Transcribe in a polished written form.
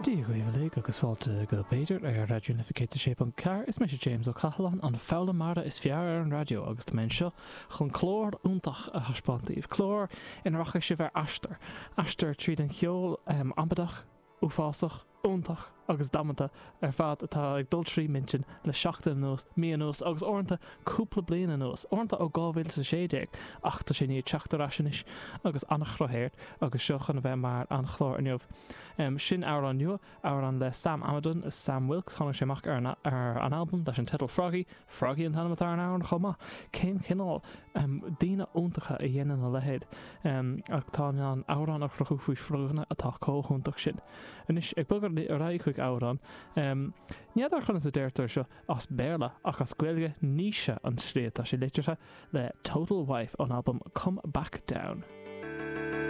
Dia dhaoibh uilig agus fáilte go B'fhéidir ar Raidió na Life 106.4. Is mise James Ó Cathaláin, an foghlaimeara is fearr ar an raidió agus tá mé anseo chun clár iontach a thaispeáint daoibh. Clár ina rachaidh sibh ar aistear. Aistear tríd an cheol amaideach, uafásach, iontach agus damanta ar fad atá ag dul trí m'intinn le seachtain anuas, mí anuas agus uaireanta cúpla bliain anuas, uaireanta ó 2016, ach tá sé i ndiaidh teacht ar ais anois agus an-chruth air agus seo chun a bheith mar an chlár inniu. Sin amhrán nua, amhrán le Sam Amidon is Sam Wilkes, tháinig sé amach ar an ar an albam leis an teideal Froggy, Froggy an t-ainm atá ar an amhrán chomh maith. Cén chineál daoine iontacha a dhéanann a leithéid atá in ann amhrán a chruthú faoi froganna atá chomh hiontach sin. Anois, ag bogadh ar aghaidh chuig amhrán, n'fheadar conas a deirtear seo as Béarla ach as Gaeilge, Naoise an tslí atá sé litrithe, le Total Wife ón albam Come Back Down.